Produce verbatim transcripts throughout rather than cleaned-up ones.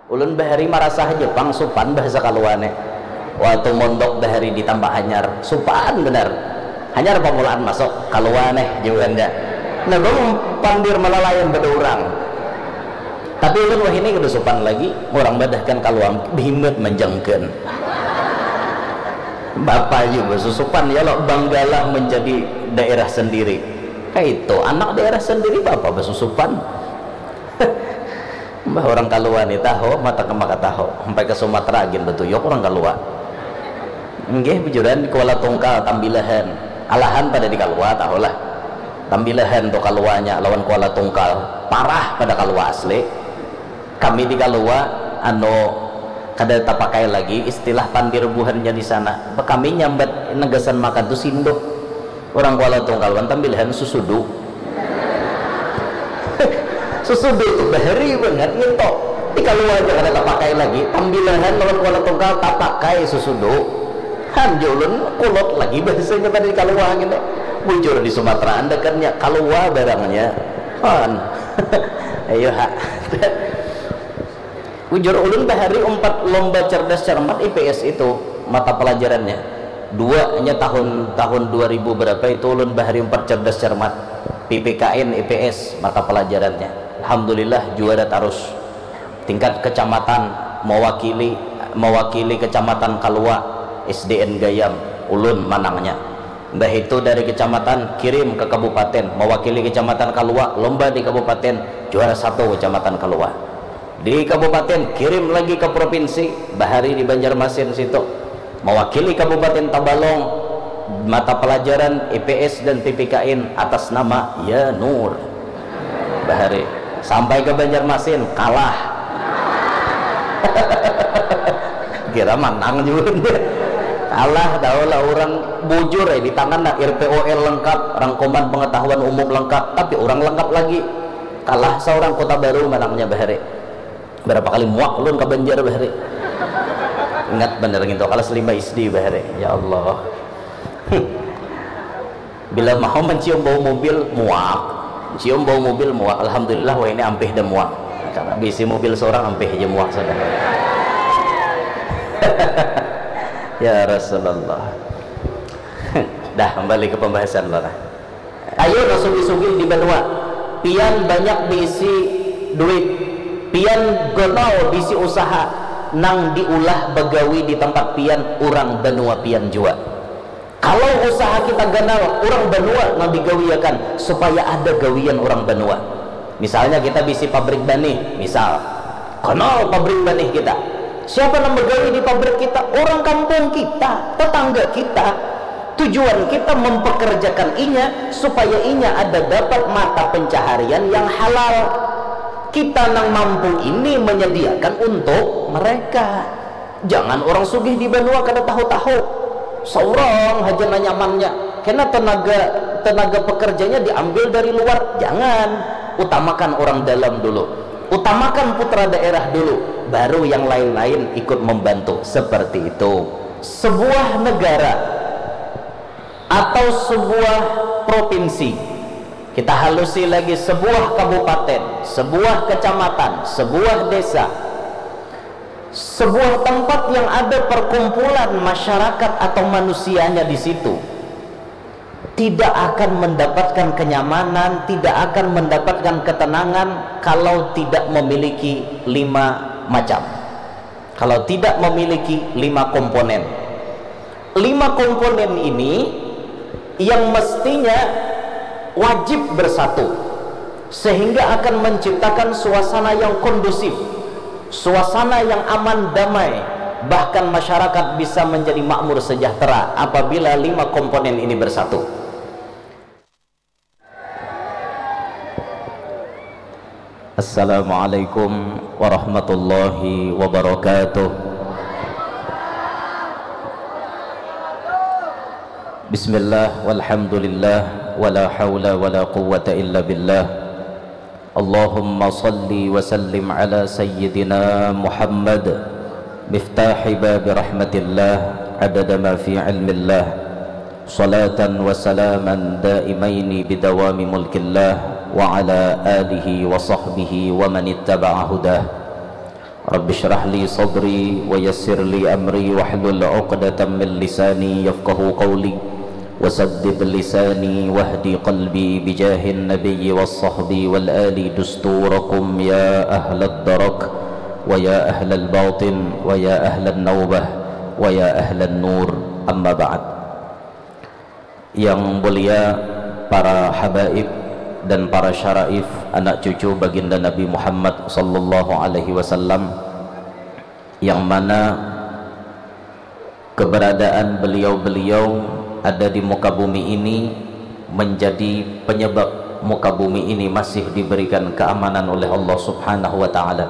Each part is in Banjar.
Ulun bahari marasa haja pang supan bahasa Kalua ne. Waktu mondok bahari di Tambak Hanyar, supan banar. Hanyar pamulaan masuk, Kalua neh jauhanda. Nah, bang pandir malalayan pada urang. Tapi ulun wahini kada supan lagi, urang badahkan Kalua, bihimbat manjangkan. Bapa aja basusupan ya lo, banggalah menjadi daerah sendiri. Kaitu, anak daerah sendiri bapa basusupan. Mbah, orang Kalua ni tahu, mata ke maka tahu. Sampai ke Sumatera gin betuyuk orang Kalua. Nggih, bujuran di Kuala Tungkal, Tambilahan. Alahan pada di Kalua, tahulah. Tambilahan tu Kaluanya lawan Kuala Tungkal. Parah pada Kalua asli. Kami di Kalua, anu, kada tapakai lagi istilah pandir buhannya di sana. Kami nyambat negasan makan tu sinduh. Orang Kuala Tungkal wan Tambilahan susudu. Susudu tu bahari bangat nginto. Di Kalua aja kada tapakai lagi. Tambilahan lawan Kuala Tungkal tapakai susudu. Han, ja ulun kulot lagi bahasanya tadi di Kalua ngini. Bujur di Sumatera andakannya Kalua barangnya. Han. Ayo ha. Bujur ulun bahari umpat lomba cerdas cermat I P S itu mata pelajarannya. Dua nya tahun, tahun dua ribu berapa itu ulun bahari umpat cerdas cermat. P P K N I P S mata pelajarannya. Alhamdulillah juara tarus. Tingkat kecamatan, mewakili, mewakili kecamatan Kalua, S D N Gayam, ulun manangnya. Mbah itu dari kecamatan kirim ke kabupaten, mewakili kecamatan Kalua, lomba di kabupaten, juara satu kecamatan Kalua. Di kabupaten, kirim lagi ke provinsi, bahari di Banjarmasin situ. Mewakili Kabupaten Tabalong, mata pelajaran I P S dan P P K N atas nama Ya Nur. Bahari. Sampai ke Banjarmasin, kalah. Kira manang juga. Kalah, tahu lah orang bujur ya, di tangan nah R P O L lengkap, rangkuman pengetahuan umum lengkap, tapi orang lengkap lagi. Kalah seorang Kota Baru manangnya bahari. Berapa kali muak ulun ka Banjar bahari. Ingat bener ngintu, kalas lima S D bahari. Ya Allah. Bila mau mencium bau mobil, muak. Cium bau mobil, muak. Alhamdulillah, wah ini ampih dah muak. Karena bisi mobil seorang ampih aja muak sudah. Ya Rasulullah. Dah, kembali ke pembahasan lah. Ayo, nah, sugih-sugih di banua. Pian banyak bisi duit. Pian ganal bisi usaha. Nang diulah bagawi di tempat pian, urang banua pian jua. Kalau usaha kita ganal, urang banua nang digawiakan supaya ada gawian urang banua. Misalnya kita bisi pabrik banih, misal. Ganal pabrik banih kita. Siapa nang bagawi di pabrik kita? Urang kampung kita, tetangga kita. Tujuan kita mempekerjakan inya supaya inya ada dapat mata pencaharian yang halal. Kita nang mampu ini menyediakan untuk mereka. Jangan urang sugih di banua kada tahu-tahu. Saurang haja nang nyamannya. Kena tenaga, tenaga pekerjanya diambil dari luar. Jangan. Utamakan urang dalam dulu. Utamakan putra daerah dulu. Baru yang lain-lain ikut membantu. Seperti itu. Sebuah negara atau sebuah provinsi, kita halusi lagi, sebuah kabupaten, sebuah kecamatan, sebuah desa, sebuah tempat yang ada perkumpulan masyarakat atau manusianya di situ, tidak akan mendapatkan kenyamanan, tidak akan mendapatkan ketenangan kalau tidak memiliki lima macam. Kalau tidak memiliki lima komponen. Lima komponen ini yang mestinya wajib bersatu, sehingga akan menciptakan suasana yang kondusif, suasana yang aman, damai, bahkan masyarakat bisa menjadi makmur sejahtera apabila lima komponen ini bersatu. Assalamualaikum warahmatullahi wabarakatuh. Bismillah, walhamdulillah, wala haula wala quwwata illa billah. Allahumma salli wa sallim ala sayyidina Muhammad, miftahi babi rahmatillah, adada ma fi ilmillah. Salatan wa salaman daimaini bidawami mulkillah wa ala alihi wa sahbihi wa man ittaba'a hudah. Rabbi shrah li sadri wa yassir li amri wahlul uqdatam min lisani yafqahu qawli wasaddid lisani wahdi qalbi bijahin nabiyyi was sahbi wal ali dusturakum ya ahlad darak wa ya ahlal batin wa ya ahlan naubah wa ya ahlan nur, amma ba'd. Yang mulia para habaib dan para syaraif, anak cucu baginda Nabi Muhammad sallallahu alaihi wasallam, yang mana keberadaan beliau-beliau ada di muka bumi ini menjadi penyebab muka bumi ini masih diberikan keamanan oleh Allah Subhanahu wa taala.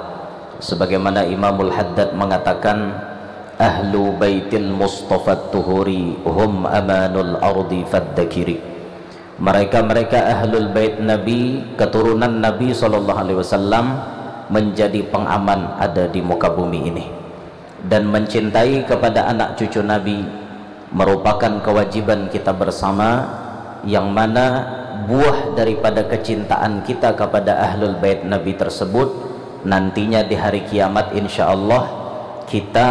Sebagaimana Imamul Haddad mengatakan, "Ahlu baitil Mustafa tuhuri hum amanul ardi faddakiri." Mereka-mereka ahlul bait Nabi, keturunan Nabi sallallahu alaihi wasallam, menjadi pengaman ada di muka bumi ini. Dan mencintai kepada anak cucu Nabi merupakan kewajiban kita bersama, yang mana buah daripada kecintaan kita kepada ahlul bait Nabi tersebut, nantinya di hari kiamat, insya Allah, kita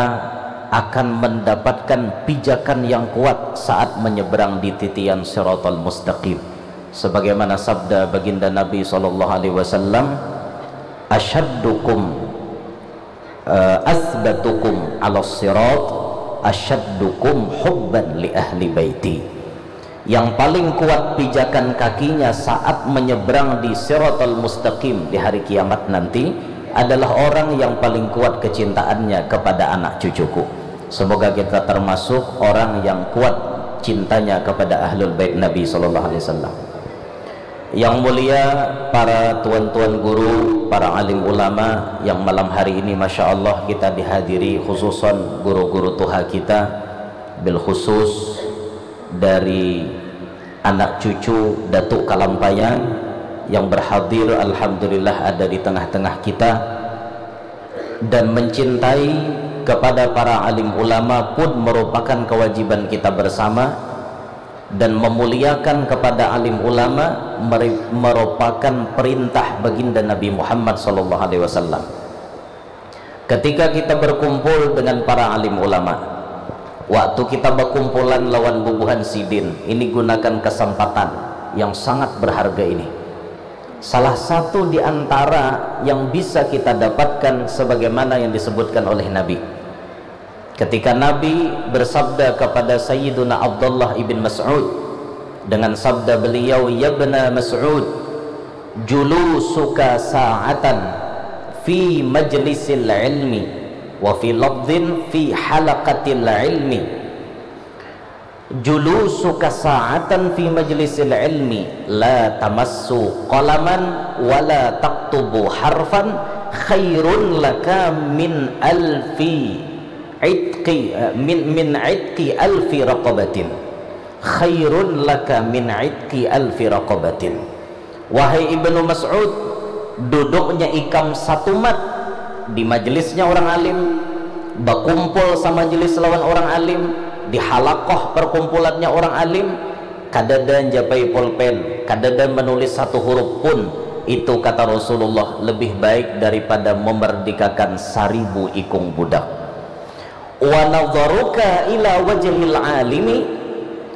akan mendapatkan pijakan yang kuat saat menyeberang di titian Siratal Mustaqim. Sebagaimana sabda baginda Nabi sallallahu alaihi wasallam, "Asyaddukum, eh, asbatukum ala sirat, asyaddukum hubban li ahli baiti." Yang paling kuat pijakan kakinya saat menyeberang di Siratal Mustaqim di hari kiamat nanti adalah orang yang paling kuat kecintaannya kepada anak cucuku. Semoga kita termasuk orang yang kuat cintanya kepada ahlul bait Nabi sallallahu alaihi wasallam. Yang mulia para tuan-tuan guru, para alim ulama yang malam hari ini, masya Allah, kita dihadiri, khususon guru-guru tuha kita, bil khusus dari anak cucu Datuk Kalampayan yang berhadir, alhamdulillah, ada di tengah-tengah kita. Dan mencintai kepada para alim ulama pun merupakan kewajiban kita bersama, dan memuliakan kepada alim ulama meri-, merupakan perintah baginda Nabi Muhammad sallallahu alaihi wasallam. Ketika kita berkumpul dengan para alim ulama, waktu kita berkumpulan lawan bubuhan sidin, ini gunakan kesempatan yang sangat berharga ini. Salah satu di antara yang bisa kita dapatkan sebagaimana yang disebutkan oleh Nabi. Ketika Nabi bersabda kepada Sayyiduna Abdullah ibn Mas'ud dengan sabda beliau, "Yabna Mas'ud, julusuka sa'atan fi majlisil ilmi, wa fi lafdhin fi halaqatil ilmi." Julusuka sa'atan fi majlisil ilmi la tamassu qalaman wa la taktubu harfan khairun laka min alfi itqi, min, min itqi alfi raqabatin. Khairun laka min itqi alfi raqabatin. Wahai Ibnu Mas'ud, duduknya ikam satumat di majelisnya orang alim, bakumpul samajelis lawan orang alim, di halakoh perkumpulannya orang alim, kadada njapai pulpen, kadada menulis satu huruf pun, itu kata Rasulullah lebih baik daripada memerdekakan saribu ikung budak. Wa nadharuka ila wajhil alimi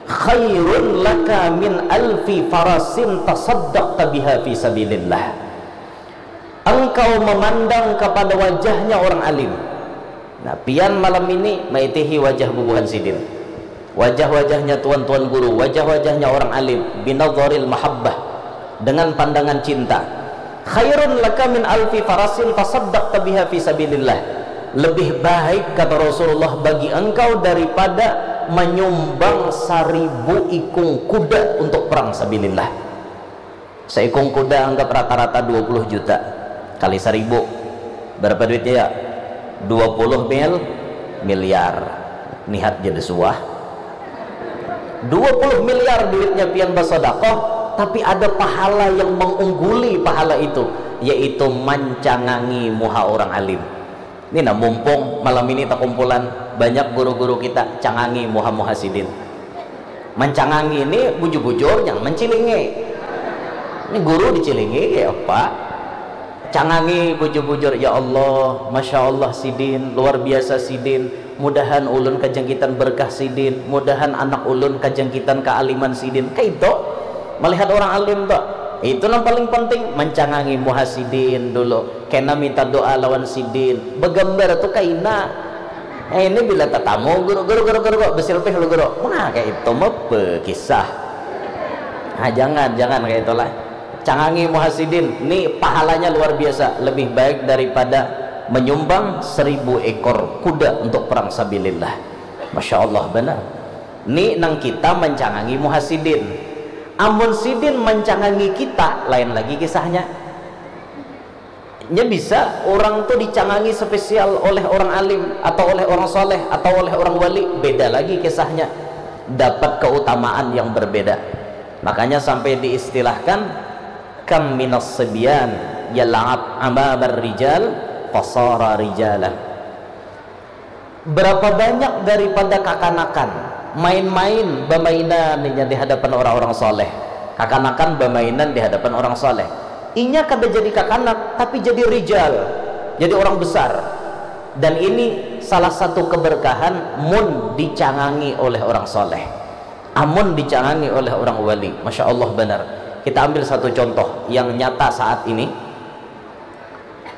khairun laka min alfi farasin tasaddaqta biha fi sabilillah. Engkau memandang kepada wajahnya orang alim. Nah, pian malam ini maitihi wajah bubuhan sidin. Wajah-wajahnya tuan-tuan guru, wajah-wajahnya orang alim, binadharil mahabbah, dengan pandangan cinta. Khairun laka min alfi farasin tasaddaqta biha fi sabilillah. Lebih baik, kata Rasulullah, bagi engkau daripada menyumbang saribu ikung kuda untuk perang sabilillah. Seikung kuda anggap rata-rata dua puluh juta kali saribu. Berapa duitnya, ya? Dua puluh mil, miliar. Nihat jadi suah. Dua puluh miliar duitnya pian basodakoh, tapi ada pahala yang mengungguli pahala itu, yaitu mancangangi muha orang alim. Ini nah, mumpung malam ini takumpulan, banyak guru-guru kita, cangangi muha-muha sidin. Mancangangi ini bujur-bujur, jangan mancilingi. Ini guru dicilingi kayak apa? Cangangi bujur-bujur, "Ya Allah, Masya Allah sidin, luar biasa sidin, mudahan ulun kajangkitan berkah sidin, mudahan anak ulun kajangkitan kaaliman sidin." Kaitu, melihat orang alim tu, itu nang paling penting, mencangangi muha sidin dulu, kena minta doa lawan sidin, begambar tu kaina. Eh, ini bila tatamu guru, guru, guru, guru, guru, besilpih lu guru, nah kayak itu mah kisah. Nah, jangan, jangan kayak itulah. Cangangi muha sidin, ni pahalanya luar biasa, lebih baik daripada menyumbang seribu ekor kuda untuk perang sabilillah. Masya Allah benar. Ni nang kita mencangangi muha sidin. Amun sidin mencangangi kita, lain lagi kisahnya. Nya bisa orang tu dicangangi spesial oleh orang alim atau oleh orang soleh atau oleh orang wali, beda lagi kisahnya, dapat keutamaan yang berbeda. Makanya sampai diistilahkan, "Kam minas sibyan yal'ab amabar rijal fasara rijalan." Berapa banyak daripada kakanakan main-main, bamainan inya di hadapan orang-orang soleh. Kakanakan bamainan di hadapan orang soleh. Inya kada jadi kakanak, tapi jadi rijal, jadi orang besar. Dan ini salah satu keberkahan mun dicangangi oleh orang soleh. Amun dicangangi oleh orang wali, Masya Allah benar. Kita ambil satu contoh yang nyata saat ini.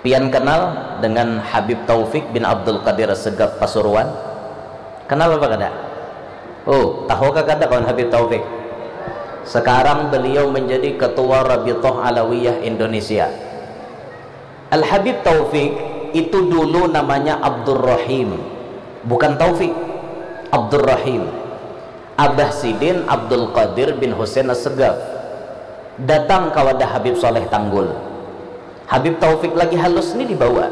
Pian kenal dengan Habib Taufik bin Abdul Qadir Segaf Pasuruan? Kenal apa kada? Oh, tahu kah kada kawan Habib Taufik? Sekarang beliau menjadi ketua Rabithah Alawiyah Indonesia. Al Habib Taufik itu dulu namanya Abdurrahim, bukan Taufik, Abdurrahim. Abah sidin Abdul Qadir bin Husain As-Segaf datang ka wadah Habib Saleh Tanggul. Habib Taufik lagi halus ni dibawa.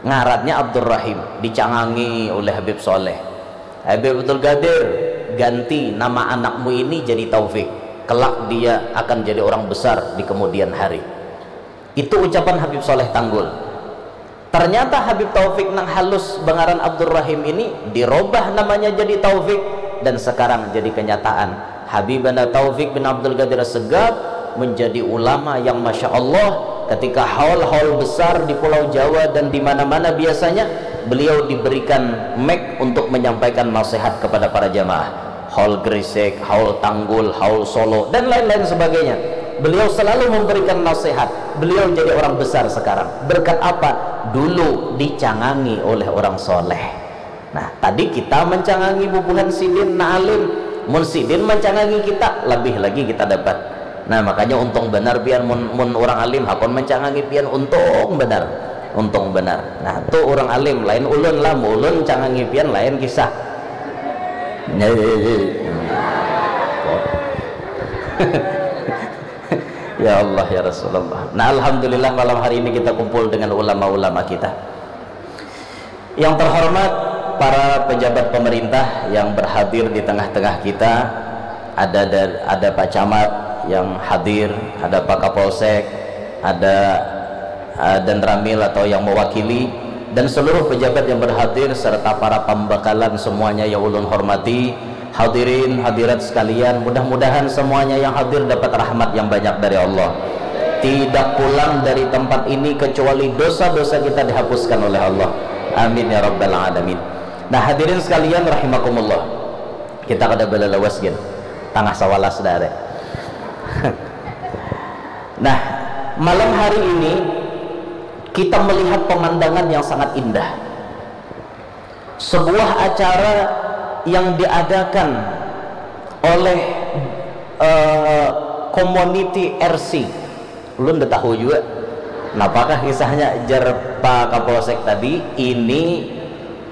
Ngarannya Abdurrahim, dicangangi oleh Habib Saleh. "Habib Abdul Qadir, ganti nama anakmu ini jadi Taufik. Kelak dia akan jadi orang besar di kemudian hari." Itu ucapan Habib Saleh Tanggul. Ternyata Habib Taufik nang halus bangaran Abdurrahim ini dirobah namanya jadi Taufik dan sekarang jadi kenyataan. Habibana Taufik bin Abdul Qadir Segaf menjadi ulama yang Masya Allah, ketika haul-haul besar di Pulau Jawa dan di mana-mana biasanya beliau diberikan mic untuk menyampaikan nasihat kepada para jamaah. Haul Gresik, haul Tanggul, haul Solo, dan lain-lain sebagainya. Beliau selalu memberikan nasihat. Beliau jadi orang besar sekarang. Berkat apa? Dulu dicangangi oleh orang soleh. Nah, tadi kita mencangangi bubuhan sidin na alim. Mun sidin mencangangi kita, lebih lagi kita dapat. Nah, makanya untung benar pian mun, mun orang alim hakun mencangangi pian, untung benar. Untung benar. Nah, tu orang alim, lain ulun lah, mun ulun cangangi pian lain kisah. Ya Allah, ya Rasulullah. Nah, alhamdulillah malam hari ini kita kumpul dengan ulama-ulama kita. Yang terhormat para pejabat pemerintah yang berhadir di tengah-tengah kita, ada da-, ada Pak Camat yang hadir, ada Pak Kapolsek, ada, eh, Danramil atau yang mewakili, dan seluruh pejabat yang berhadir serta para pambakalan semuanya yang ulun hormati. Hadirin hadirat sekalian, mudah-mudahan semuanya yang hadir dapat rahmat yang banyak dari Allah. Tidak pulang dari tempat ini kecuali dosa-dosa kita dihapuskan oleh Allah. Amin ya rabbal alamin. Nah, hadirin sekalian rahimakumullah. Kita kada balalawas gin. Tangah sawalas dah ada. Nah, malam hari ini kita melihat pemandangan yang sangat indah. Sebuah acara yang diadakan oleh, eh, community R C. Ulun nda tahu jua napakah kisahnya, jar Pak Kapolsek tadi. Ini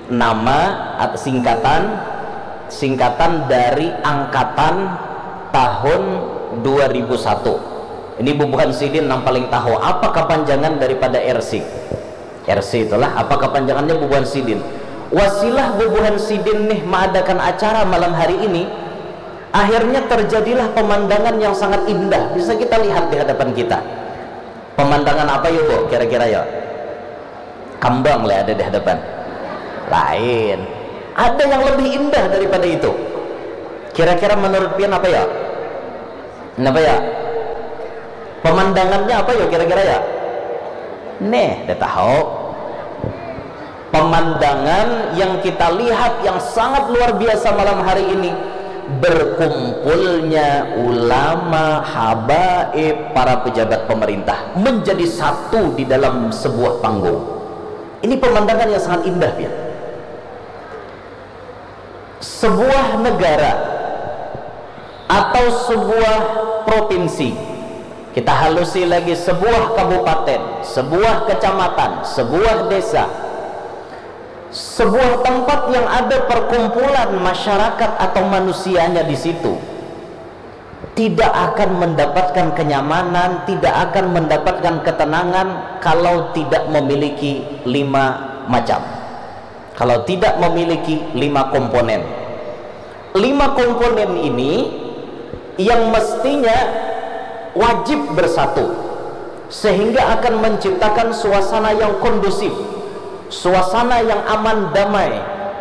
nama at-, singkatan, singkatan dari angkatan tahun dua ribu satu. Ini bubuhan sidin nang paling tahu apa kapanjangan daripada R C. R C itulah apa kapanjangannya bubuhan sidin. Wasilah bubuhan sidin nih maadakan acara malam hari ini, akhirnya terjadilah pemandangan yang sangat indah bisa kita lihat di hadapan kita. Pemandangan apa yo, Bu, kira-kira yo? Kambang lah ada di hadapan. Lain. Ada yang lebih indah daripada itu. Kira-kira menurut pian apa ya? Kenapa ya? Pemandangannya apa ya kira-kira ya? Neh, dah tahu. Pemandangan yang kita lihat yang sangat luar biasa malam hari ini, berkumpulnya ulama, habaib, para pejabat pemerintah menjadi satu di dalam sebuah panggung. Ini pemandangan yang sangat indah, ya. Sebuah negara atau sebuah provinsi, kita halusi lagi, sebuah kabupaten, sebuah kecamatan, sebuah desa, sebuah tempat yang ada perkumpulan masyarakat atau manusianya di situ, tidak akan mendapatkan kenyamanan, tidak akan mendapatkan ketenangan kalau tidak memiliki lima macam, kalau tidak memiliki lima komponen. Lima komponen ini yang mestinya wajib bersatu, sehingga akan menciptakan suasana yang kondusif, suasana yang aman, damai,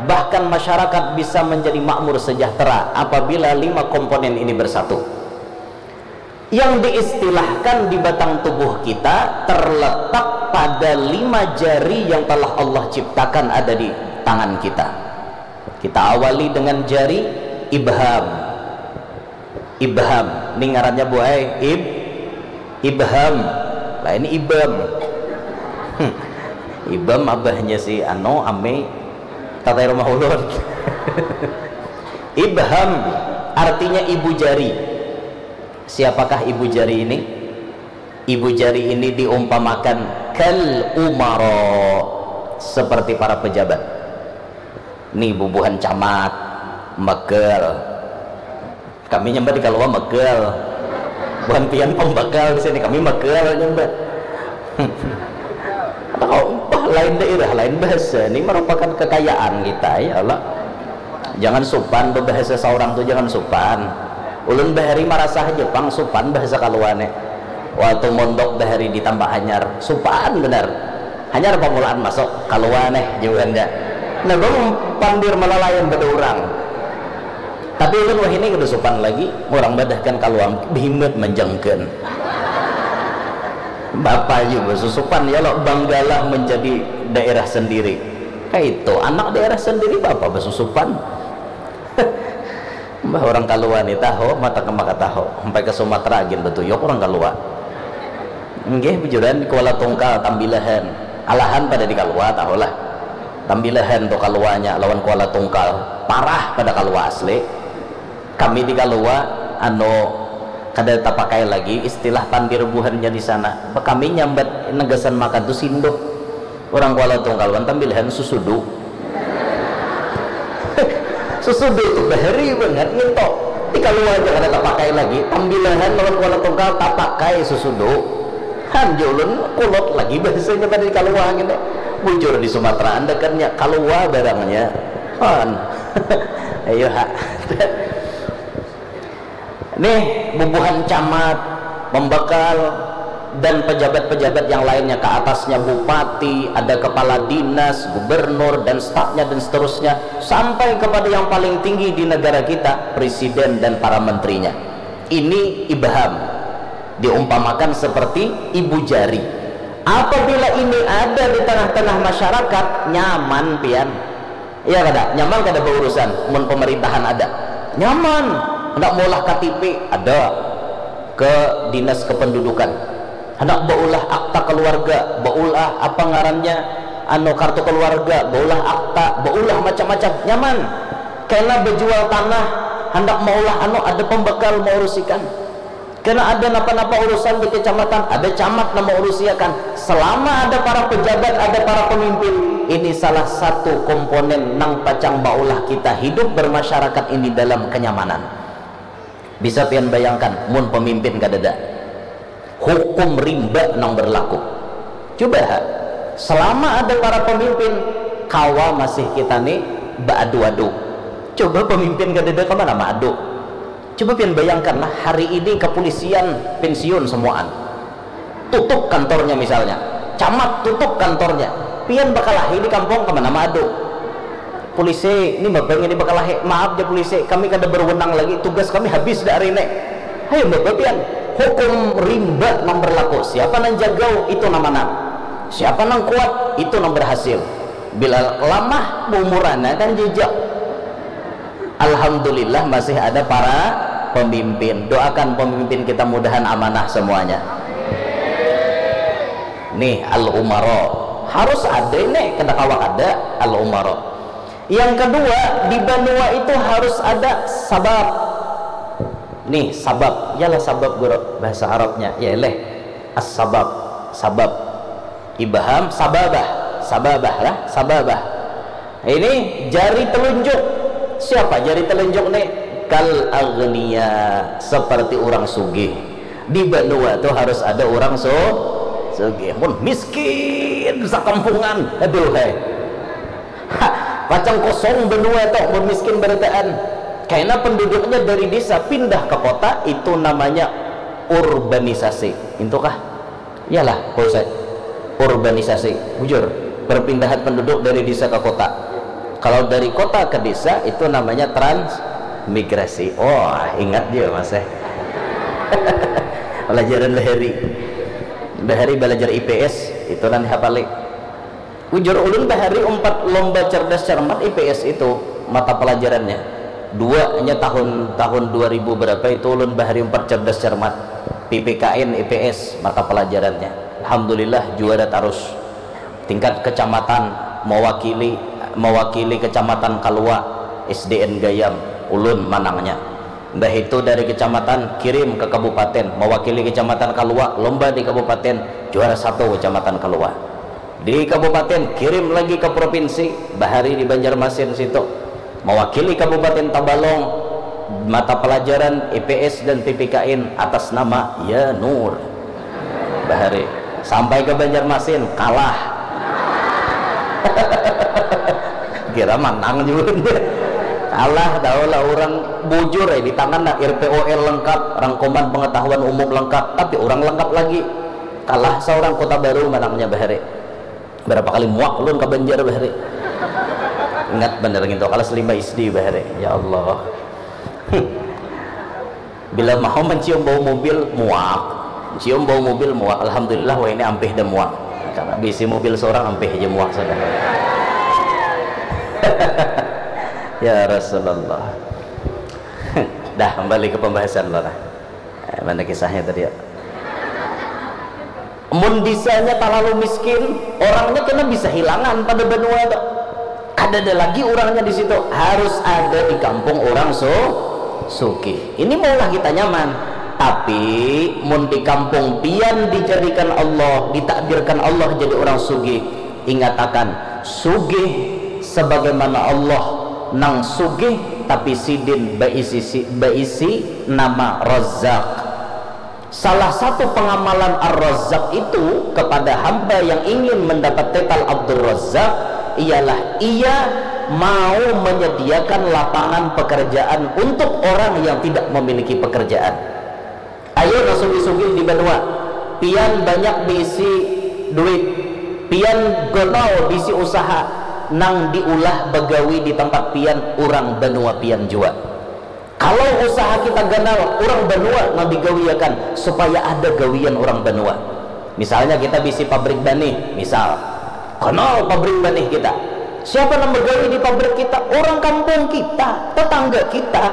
bahkan masyarakat bisa menjadi makmur sejahtera apabila lima komponen ini bersatu. Yang diistilahkan di batang tubuh kita terletak pada lima jari yang telah Allah ciptakan ada di tangan kita. Kita awali dengan jari ibham. Ibham, ini ngarannya, Bu ai, ib, ibham. Lah, ini ibam. Hmm. Ibam abahnya si anu, ame, tatai rumah ulun. Ibham artinya ibu jari. Siapakah ibu jari ini? Ibu jari ini diumpamakan kal umaro, seperti para pejabat. Nih, bubuhan camat, mekel. Kami nyambat di Kalua mekel. Buhan pian pembekal di sini, kami mekel nyambat. Atau, bah, lain daerah, lain bahasa. Ini merupakan kekayaan kita, ya Allah. Jangan supan, berbahasa seorang tu jangan supan. Ulun bahari marasa haja pang supan bahasa Kalua nih. Waktu mondok bahari di Tambak Hanyar, supan benar. Hanyar pamulaan masuk, Kalua nih, jauhan ja. Nah, bang pandir malalayan pada urang. Tapi ulun wahini kada supan lagi, urang badahkan Kalua, behimat manjangkan. Bapa juga susupan, ya lo, banggalah menjadi daerah sendiri. Kaitu, anak daerah sendiri, bapa basusupan. Mbah, urang Kalua ni tahu, mata ke maka tahu. Sampai ke Sumatera gin betuyuk urang Kalua. Nggih, bujuran, Kuala Tungkal, Tambilahan. Alahan pada di Kalua, tahulah. Tambilahan tu Kaluanya lawan Kuala Tungkal. Parah pada Kalua asli. Kami di Kalua, anu, kada tapakai lagi istilah pandir buhannya di sana. Kami nyambat negasan makan tu sinduh. Urang Kuala Tungkal wan Tambilahan susudu. Susudu tu bahari bangat nginto. Di Kalua aja kada tapakai lagi. Tambilahan lawan Kuala Tungkal tapakai susudu. Han, ja ulun kulot lagi bahasanya pada di Kalua ngini. Bujur di Sumatera andakannya Kalua barangnya. Han. Ayo ha. Nih, bubuhan camat, pembekal, dan pejabat-pejabat yang lainnya, ke atasnya bupati, ada kepala dinas, gubernur, dan stafnya, dan seterusnya, sampai kepada yang paling tinggi di negara kita, presiden dan para menterinya. Ini ibham, diumpamakan seperti ibu jari. Apabila ini ada di tengah-tengah masyarakat, nyaman pian. Iya kada? Nyaman kada baurusan mun pemerintahan ada? Nyaman. Handak maulah K T P, ada ke dinas kependudukan. Handak baulah akta keluarga, baulah apa ngarannya, anu, kartu keluarga, baulah akta, baulah macam-macam, nyaman. Kena bejual tanah, handak maulah anu, ada pembekal maurusikan. Kena ada napa-napa urusan di kecamatan, ada camat nang maurusiakan. Selama ada para pejabat, ada para pemimpin, ini salah satu komponen nang pacang maulah kita hidup bermasyarakat ini dalam kenyamanan. Bisa pian bayangkan, mun pemimpin kadada, hukum rimba nang berlaku. Cuba ha, selama ada para pemimpin, kawa masih kita ni baadu-adu. Coba pemimpin kadada, kemana maadu? Coba pian bayangkanlah, hari ini kepolisian pensiun semuaan. Tutup kantornya misalnya. Camat tutup kantornya. Pian bakalahi di kampung, kemana maadu? Polisi, ini bapa ini bakalahi. Maaf ja polisi, kami kada berwenang lagi. Tugas kami habis dah hari ini. Hayu bapa pian. Hukum rimba nang berlaku. Siapa nang jagau, itu nang manang. Siapa nang kuat, itu nang berhasil. Bila lamah, umurana kan jejak. Alhamdulillah masih ada para pemimpin. Doakan pemimpin kita mudahan amanah semuanya. Nih, al-umaro. Harus ada ini, kada kawa kada al-umaro. Yang kedua, di banua itu harus ada sabab. Nih, sabab. Yalah sabab, guru. Bahasa Arabnya. Ya leh. As-sabab. Sabab. Ibham, sababah. Sababah lah, sababah. Ini jari telunjuk. Siapa jari telunjuk nih? Kal agniya, seperti orang sugih. Di banua tuh harus ada orang su sugih. Mun miskin sakampungan, aduh hai. Ha, pacang kosong banua tuh mun miskin barataan. Karena penduduknya dari desa pindah ke kota, itu namanya urbanisasi. Itu kah? Iyalah, Pak Ustaz. Urbanisasi, bujur. Perpindahan penduduk dari desa ke kota. Kalau dari kota ke desa, itu namanya transmigrasi. Oh, ingat juga, Mas, eh. Pelajaran bahari. Bahari belajar I P S, itu nanti hafali. Bujur, ulun bahari umpat lomba cerdas cermat I P S itu, mata pelajarannya. Dua nya tahun, tahun dua ribu berapa itu ulun bahari umpat cerdas cermat. P P K N I P S mata pelajarannya. Alhamdulillah juara tarus. Tingkat kecamatan mewakili, mewakili kecamatan Kalua, S D N Gayam, ulun manangnya. Dah itu dari kecamatan kirim ke kabupaten, mewakili kecamatan Kalua, lomba di kabupaten, juara satu kecamatan Kalua. Di kabupaten, kirim lagi ke provinsi, bahari di Banjarmasin situ. Mewakili Kabupaten Tabalong, mata pelajaran I P S dan P P K N atas nama Ya Nur. Bahari. Sampai ke Banjarmasin, kalah. Kira manang juga. Kalah, tahu lah orang bujur, eh, di tangan lah R P O L lengkap, rangkuman pengetahuan umum lengkap, tapi orang lengkap lagi. Kalah seorang Kota Baru manangnya bahari. Berapa kali muak ulun ka Banjar bahari. Ingat banar ngintu, kelas lima S D bahari. Ya Allah. Bila mau mencium bau mobil, muak. Cium bau mobil, muak. Alhamdulillah, wah ini ampih dah muak. Karena bisi mobil seorang ampih aja muak sudah. Ya Rasulullah. Dah, kembali ke pembahasan lah. Eh, mana kisahnya tadi ya? Mun disanya talalu miskin, orangnya kena bisa hilangan pada banua tu. Kadada lagi urangnya di situ. Harus ada di kampung urang su sugih. Ini maulah kita nyaman. Tapi mun di kampung pian dijadikan Allah, ditakdirkan Allah jadi urang sugih, ingatakan, sugih sebagaimana Allah nang sugih, tapi sidin baisi si- baisi nama Razzaq. Salah satu pengamalan Ar-Razzaq itu kepada hamba yang ingin mendapat titel Abdul Razzaq ialah ia mau menyediakan lapangan pekerjaan untuk orang yang tidak memiliki pekerjaan. Ayo nang sugih-sugih di banua, pian banyak diisi duit, pian ganal diisi usaha, nang diulah bagawi di tempat pian urang banua pian jua. Kalau usaha kita ganal, urang banua nang digawiakan supaya ada gawian urang banua. Misalnya kita bisi pabrik banih, misal. Ganal pabrik banih kita. Siapa nang bagawi di pabrik kita? Urang kampung kita, tetangga kita.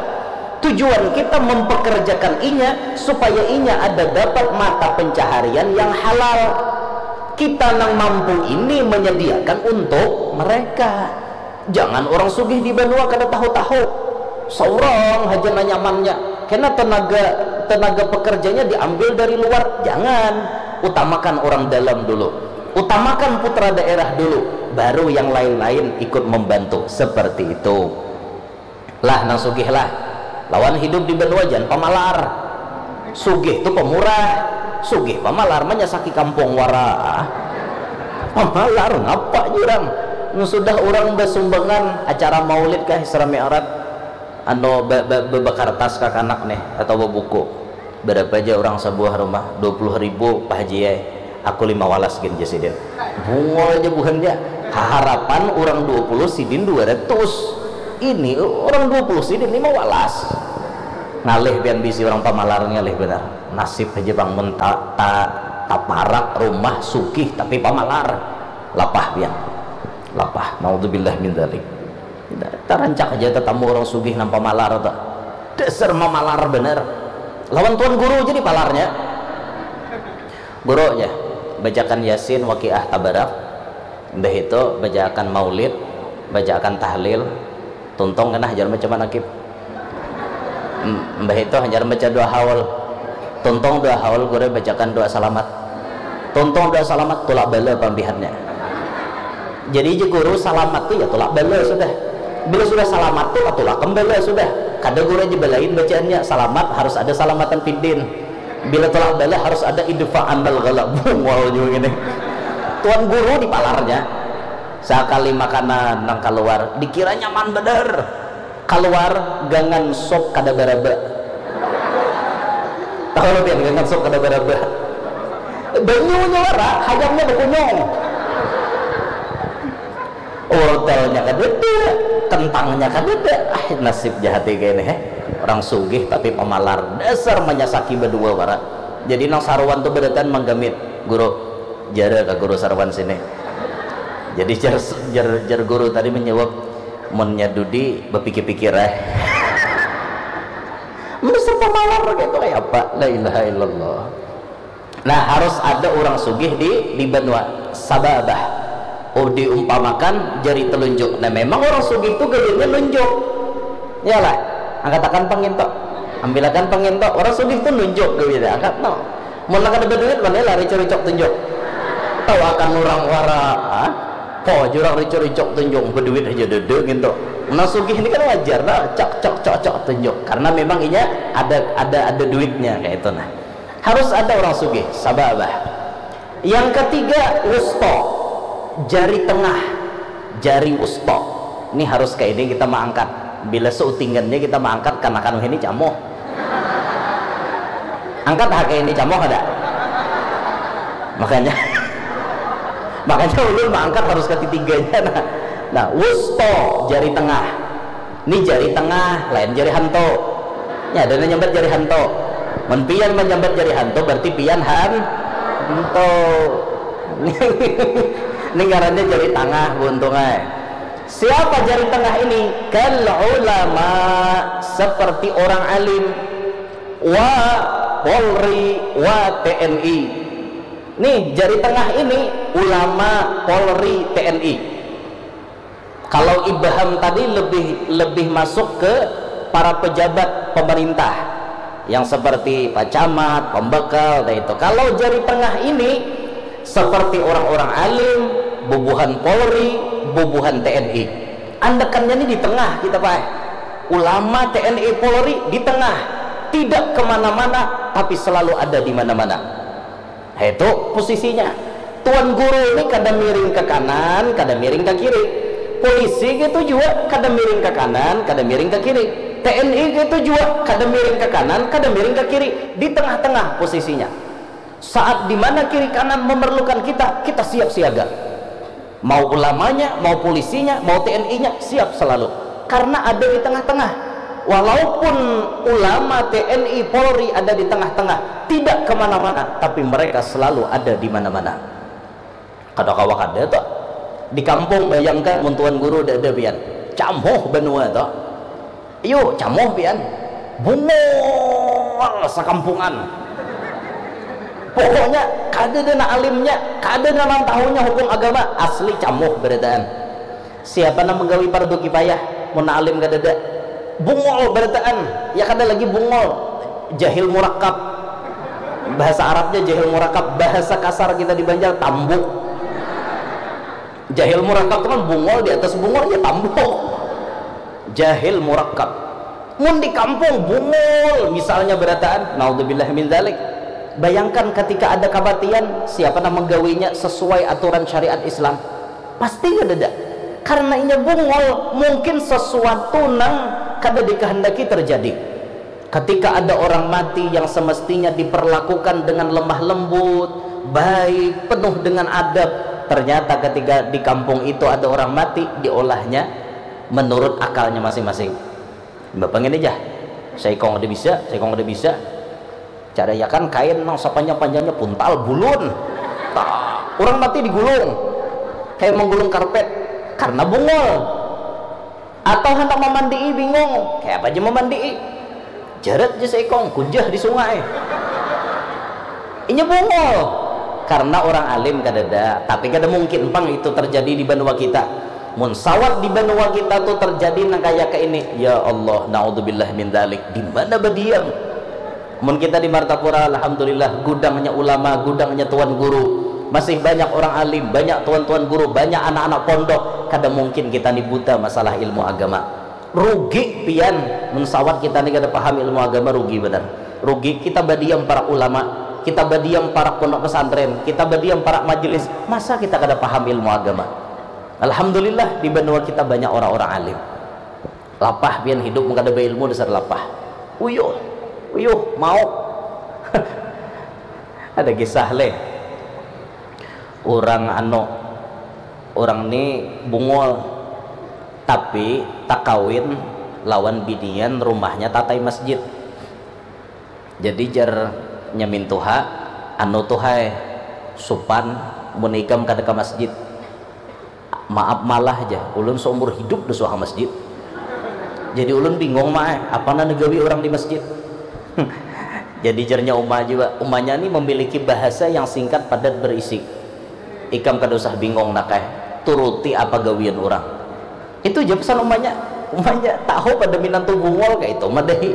Tujuan kita mempekerjakan inya supaya inya ada dapat mata pencaharian yang halal. Kita nang mampu ini menyediakan untuk mereka. Jangan urang sugih di banua kada tahu-tahu. Saurang haja nang nyamannya. Kena tenaga, tenaga pekerjanya diambil dari luar. Jangan. Utamakan urang dalam dulu. Utamakan putra daerah dulu. Baru yang lain-lain ikut membantu. Seperti itu. Lah, nang sugih lah. Lawan hidup di banua, jangan pamalar. Sugih tu pemurah. Sugih pamalar manyasaki kampung wara. Pamalar ngapa jurang? Sudah urang basumbangan acara maulid kah, Isra Mi'raj, anu ba, ba, ba, bakartas kakanak nih atau babuku. Berapa aja urang sabuah rumah? Dua puluh ribu, Pak Haji ai. Aku lima walas gin, jar sidin. Bungul aja buhannya. Haharapan urang dua puluh, sidin dua ratus. Ini urang dua puluh, sidin lima walas. Ngalih pian bisi urang pamalar, ngalih banar. Nasib haja pang mun ta, ta, Taparak rumah sugih tapi pamalar. Lapah pian. Lapah. Naudzubillah min dzalik. Tarancak aja tatamu orang sugih nang pamalar tu. Dasar mamalar bener. Lawan tuan guru aja dipalarnya. Guru aja bacakan Yasin, Waqiah, Tabarak. Mbah itu bacaakan maulid, bacaakan tahlil, tuntung kena hajar baca manakib. Mbah itu hajar baca doa haul, tuntung doa haul guru bacakan doa salamat, tuntung doa salamat tulak bala pambihannya. Jadi je guru salamat tu ya tulak bala sudah. Bila sudah salamat tu tulak kembali sudah. Kada guru aja balain bacaannya, salamat harus ada salamatan fiddin. Bila tulak bala harus ada idfa anal ghala. Bungol juga gini. Tuan guru dipalarnya. Sakali makanan nang kaluar dikira nyaman bener. Kaluar gangan sop kada baraba. Tahu lo pian gangan sop kada baraba? Banyunya wara, hayamnya bakunyung. Wortelnya kadada, kentangnya kadada. Ah, nasib jahat kayak ini, heh. Orang sugih tapi pamalar. Dasar manyasaki badua wara. Jadi nang saruan tu badataan manggamit, guru, jara ka guru saruan sini. Jadi jar, jar, jar guru tadi menjawab, munnya Dudi bapikir-pikir eh. Dasar pamalar gitu kayak apa? La ilaha illallah. Nah, harus ada orang sugih di di banua sababah. Oh, diumpamakan jari telunjuk. Nah, memang orang sugih itu gawiannya nunjuk. Yalah, angkatakan panginto. Ambilakan panginto. Orang sugih itu nunjuk gawiannya. Angkat no. Mun kada berduit mana lah ricok-ricok tunjuk. Tahu akan orang wara. Ah? Po jurang ricok-ricok tunjuk berduit aja dede gitu. Nah, sugih ini kan wajar lah, cok cok cok cok tunjuk karena memang inya ada ada ada duitnya kayak itu nah. Harus ada orang sugih, sababah. Yang ketiga, wusto, jari tengah, jari wusto. Ini harus kayak ini kita mengangkat. Bila seutingannya kita mengangkat karena kanu ini camoh. Angkat hak ini camoh ada. Makanya makanya ulun mengangkat harus ketitiganya nah. Nah, wusto jari tengah. Ini jari tengah, lain jari hantu. Ya, ada nyambat jari hantu. Mun pian menyambat jari hantu berarti pian han hantu. Ini ngarannya jari tengah buntung ay. Siapa jari tengah ini? Kal ulama, seperti orang alim, wa Polri, wa T N I. Nih, jari tengah ini ulama, Polri, T N I. Kalau Ibham tadi lebih lebih masuk ke para pejabat pemerintah yang seperti Pak Camat, pembekal, dan itu. Kalau jari tengah ini seperti orang-orang alim, bubuhan Polri, bubuhan T N I. Andekannya ini di tengah kita, Pak. Ulama, T N I, Polri di tengah. Tidak kemana-mana, tapi selalu ada di mana-mana. Itu posisinya. Tuan guru ini kada miring ke kanan, kada miring ke kiri. Polisi gitu juga kada miring ke kanan, kada miring ke kiri. T N I gitu juga kada miring ke kanan, kada miring ke kiri. Di tengah-tengah posisinya. Saat di mana kiri kanan memerlukan kita, kita siap siaga. Mau ulamanya, mau polisinya, mau T N I-nya, siap selalu. Karena ada di tengah-tengah. Walaupun ulama, T N I, Polri ada di tengah-tengah, tidak kemana-mana, tapi mereka selalu ada di mana-mana. Kada kawa kada tuh. Di kampung bayangkan mun tuan guru ada pian. Camuh banua tuh. Iyo, camoh pian. Bungol sakampungan. Pokoknya kada ada nang alimnya, kada ada nang tahunya hukum agama, asli camoh berataan. Siapa nang menggawi pardu kifayah mun nang alim kada ada? Bungol berataan, ya kada lagi bungol, jahil murakab. Bahasa Arabnya jahil murakab, bahasa kasar kita di Banjar tambuk. Jahil murakab tu kan bungol di atas bungol ya tambuk. Jahil murakab. Mun di kampung bungul misalnya berataan, naudzubillah min dzalik. Bayangkan ketika ada kematian, siapa nang menggawinya sesuai aturan syariat Islam? Pasti kadada. Karena inya bungul, mungkin sesuatu nang kada dikehendaki terjadi. Ketika ada orang mati yang semestinya diperlakukan dengan lemah lembut, baik, penuh dengan adab, ternyata ketika di kampung itu ada orang mati, diolahnya menurut akalnya masing-masing. Bapak ngini jah, saikong ada bisa, saikong ada bisa. Cara ya kan kain nang sepanjang-panjangnya puntal bulun. Tah, orang mati digulung. Kayak menggulung karpet karena bungul. Atau hendak memandii bingung, kayak apa aja memandii. Jarat aja seikong kunjah di sungai. Inya bungul karena orang alim kadada, tapi kada mungkin pang itu terjadi di banua kita. Mun sawat di banua kita tuh terjadi nang kaya ke ini, ya Allah, naudzubillah min dzalik, di mana badiam? Mun kita di Martapura, alhamdulillah, gudangnya ulama, gudangnya tuan guru, masih banyak orang alim, banyak tuan-tuan guru, banyak anak-anak pondok. Kada mungkin kita ni buta masalah ilmu agama. Rugi pian, mun sawat kita ni kada paham ilmu agama, rugi benar. Rugi kita badiam para ulama, kita badiam para pondok pesantren, kita badiam para majelis, masa kita kada paham ilmu agama? Alhamdulillah, di banua kita banyak orang-orang alim. Lapah pian hidup mun kada beilmu, dasar lapah. Uyuh, uyuh, mau. Ada kisah leh. Orang anu, orang ni bungul, tapi takawin lawan binian rumahnya tatai masjid. Jadi jar nyamin tuha, anu tuh hai, supan mun ikam kada ke masjid. Maaf malah ja, ulun seumur hidup dah suah masjid. Jadi ulun bingung mah, eh, apa nang digawi orang di masjid? Jadi jarnya uma juga, umanya ni memiliki bahasa yang singkat, padat, berisi. Ikam kada usah bingung nak eh, turuti apa gawian orang. Itu aja pesan umanya. Umanya tahu pada minantu bungul kayak itu madahi.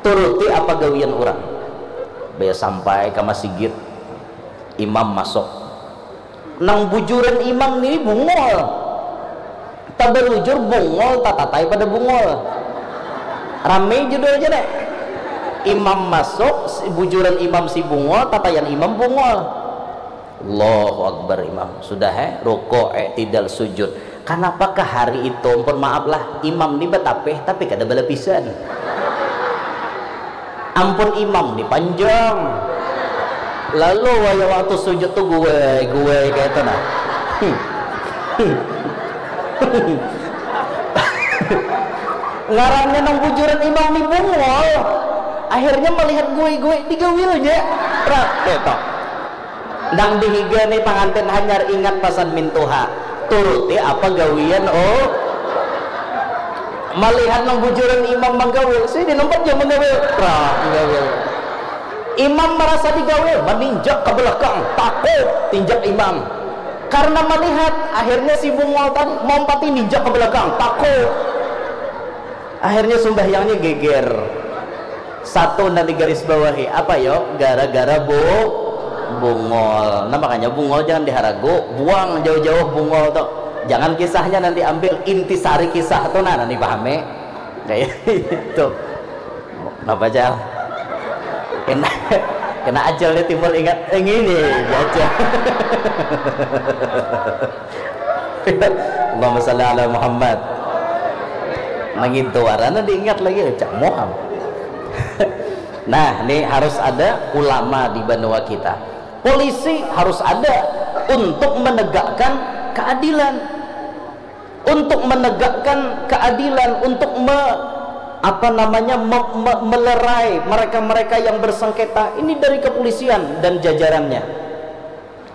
Turuti apa gawian orang. Baya sampai ke masigit, imam masuk. Nang bujuran imam ni bungul. Tabalujur bungul, tatatai pada bungul. Rame judulnya deh. Imam masuk, si bujuran imam si bungul, tataian imam bungul. Allahu Akbar imam. Sudah eh, rukuk eh, tidal sujud. Kenapa ke hari itu, ampun maaf lah, imam ni batapih tapi kada balapisan. Ampun imam ni panjang. Lalu waya waktu sujud tuh gue, gue kayak itu nah. Ngarannya nang bujuran imam ni bungul. Akhirnya melihat gue-gue digawilnya. Prak, gitu. Nang dihiga ni pangantin hanyar ingat pasan mintuha. Turuti apa gawian, oh. Malihat nang bujuran imam manggawil, sidin umpat jua manggawil. Prak, manggawil. Imam marasa digawil, maninjak ka balakang, takuk tinjak imam. Karna malihat, akhirnya si bungul tadi maumpati ninjak ka balakang, takuk. Akhirnya sumbahyangnya geger. Satu nang digarisbawahi, apa yo? Gara-gara bu-, bungul. Nah, makanya bungul jangan diharagu, buang jauh-jauh bungul tu. Jangan kisahnya nanti ambil intisari kisah tu, nah, nanti pahami. Kayak itu. Kenapa, Jal? Kena, kena Ajal nih timbul ingat, eh, ngini, Ajal. Allahumma salli ala Muhammad. Nang itu warna diingat lagi, Cak Muham. Nah, ini harus ada ulama di banua kita. Polisi harus ada untuk menegakkan keadilan. Untuk menegakkan keadilan, untuk me-, apa namanya, me-, me-, melerai mereka-mereka yang bersengketa. Ini dari kepolisian dan jajarannya.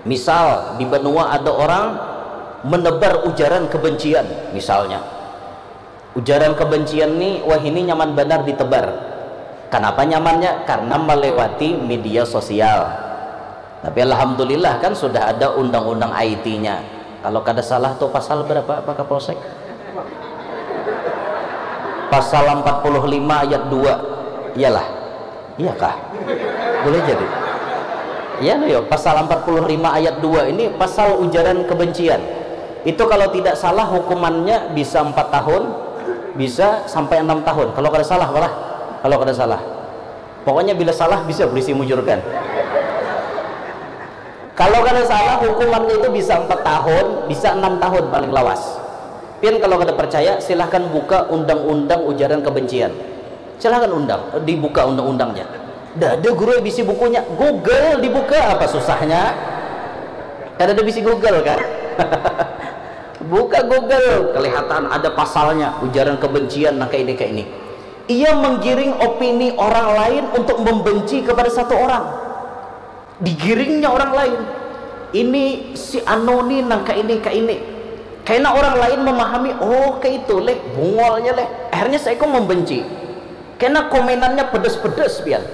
Misal, di banua ada orang menebar ujaran kebencian, misalnya. Ujaran kebencian ni, wah, ini nyaman banar ditebar. Kenapa nyamannya? Karena melewati media sosial. Tapi alhamdulillah kan sudah ada undang-undang I T-nya. Kalau kada salah tuh pasal berapa, Pak Kapolsek? Pasal empat puluh lima ayat dua. Iyalah. Iya kah? Boleh jadi. Iya, no, yo, pasal empat puluh lima ayat dua ini pasal ujaran kebencian. Itu kalau tidak salah hukumannya bisa empat tahun, bisa sampai enam tahun. Kalau kada salah, malah. Kalau kada salah. Pokoknya bila salah bisa polisi mujurkan. Kalau kada salah hukumannya itu bisa empat tahun, bisa enam tahun paling lawas. Pian kalau kada percaya, silahkan buka undang-undang ujaran kebencian. Silahkan undang, dibuka undang-undangnya. Dah ada guru yang bisi bukunya, Google dibuka, apa susahnya? Kada ada bisi Google kan? Buka Google, kelihatan ada pasalnya, ujaran kebencian, nah, kayak ini, kayak ini. Ia menggiring opini orang lain untuk membenci kepada satu orang. Digiringnya orang lain. Ini si anu ni nang kaini, kaini. Kena orang lain memahami, oh, kaitu leh, bungolnya leh. Akhirnya saikung membenci. Kena komenannya pedes-pedes pian.